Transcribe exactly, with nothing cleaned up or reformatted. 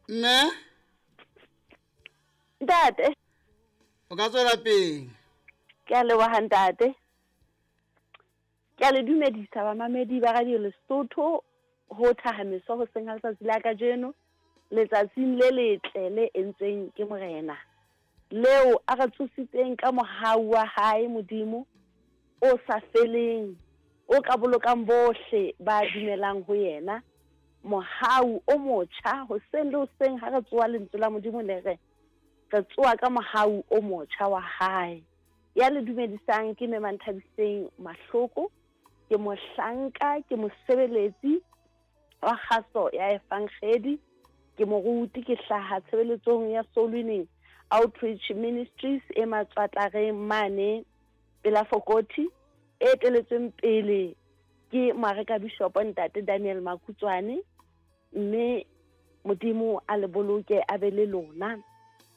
Mme? Ntate. O ka tswela pele. Ke a leboha ntate. Ke a le dumedisa bamamedi ba Radio Lesotho ho thahameso hoseng ha letsatsi la kajeno, letsatsing le letle le entsweng ke Morena, leo a re tsositseng ka mohau wa hae Modimo o sa feleng, o ka bolokang bohle ba dumelang ho yena. Mohau o motjha hoseng le hoseng ha re tsoha lentswe la Modimo le re re tsoha ka mohau o motjha wa hae. Ya le dumedisang ke Mme Manthabiseng Mahloko, ke mohlanka, ke mosebeletsi wa kgaso ya Evangeli, ke moruti, ke hlaha tshebeletsong ya Soul Winning Outreach Ministries e Matswatlareng mane pela Fokoti, e eteletsweng pele ke Moareka Bishop Ntate Daniel Makutswane. Mme Modimo a le boloke a be le lona.